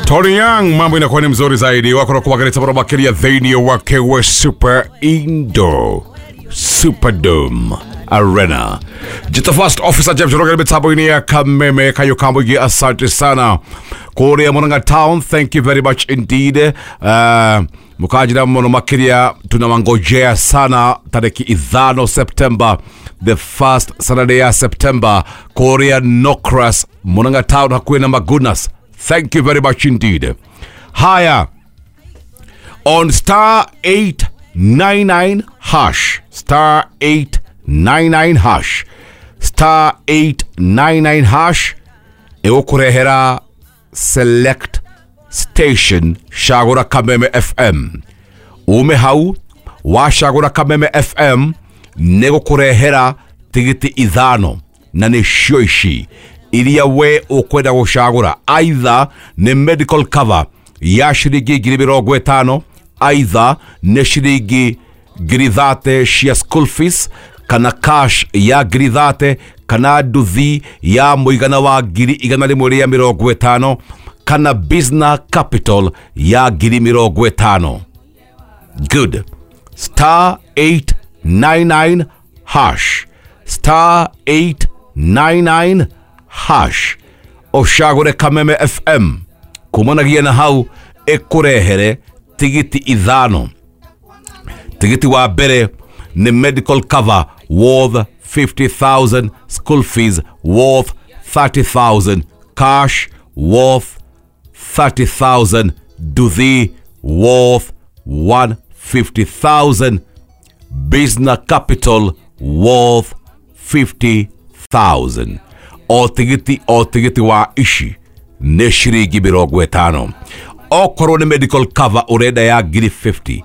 Tony Young, mambo inakuwa ni mzuri zaidi. Wako na kuwagaleta baro makiria thĩinĩ wake wa Super Indo Superdome Arena. Jita First Officer James Roger mitambo-inĩ ya Kameme Kayukambo, asante sana. Kũrĩa Murang'a Town, thank you very much indeed. Mukajira muno makiria, tunawangojea sana tariki 5 September, the first Saturday ya September, kũrĩa Nokras, Murang'a Town, hakuwe na magunas. Thank you very much indeed. Haya, on star 899 hash, star 899 hash, star 899 hash, ĩgũkũrehera select station cagũra Kameme FM. Ume hau wacagũra Kameme FM nĩ gũkũrehera tigiti 5 na nĩcio ici iria we ũkwenda gũcagũra. Aitha nĩ medical cover ya ciringi 50,000, aitha nĩ ciringi 30,000 cia school fees, kana cash ya 30,000, kana nduthi ya mũigana wa 150,000, kana business capital ya 50,000. Good. Star 899 hash, star 899 hash, ũcagũre Kameme FM. Kumanagia na hau ĩkũrehere tigiti 5. Tigiti wa mbere nĩ medical cover worth 50,000, school fees worth 30,000, cash worth 30,000, nduthi worth 150,000, business capital worth 50,000. O tigiti, o tigiti wa ici nĩ ciringi 50. Okorwo nĩ medical cover ũrenda ya 50,000,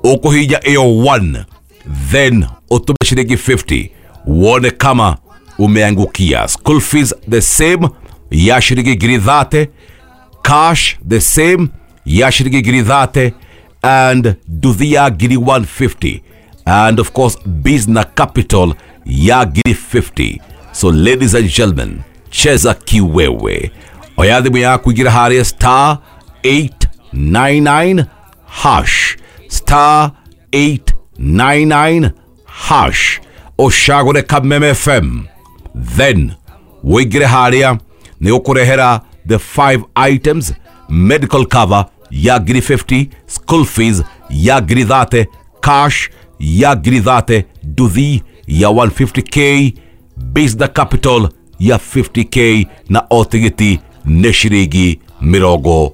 ũkũhinya ĩyo 1, then ũtũme ciringi 50 wone kama umeangukia. School fees the same ya ciringi 30,000, cash the same ya ciringi 30,000, and nduthi ya 150,000, and of course business capital ya 50,000. So ladies and gentlemen, cheza kiwewe. Oya thimũ yaku ingĩra harĩa star 899 hash, star 899 hash, ũcagũre Kameme FM, then wĩingĩre harĩa nĩ ũkũrehera the 5 items: medical cover ya 50,000, school fees ya 30,000, cash ya 30,000, nduthi ya 150K, business capital ya 50K, na o tigiti nĩ ciringi 50.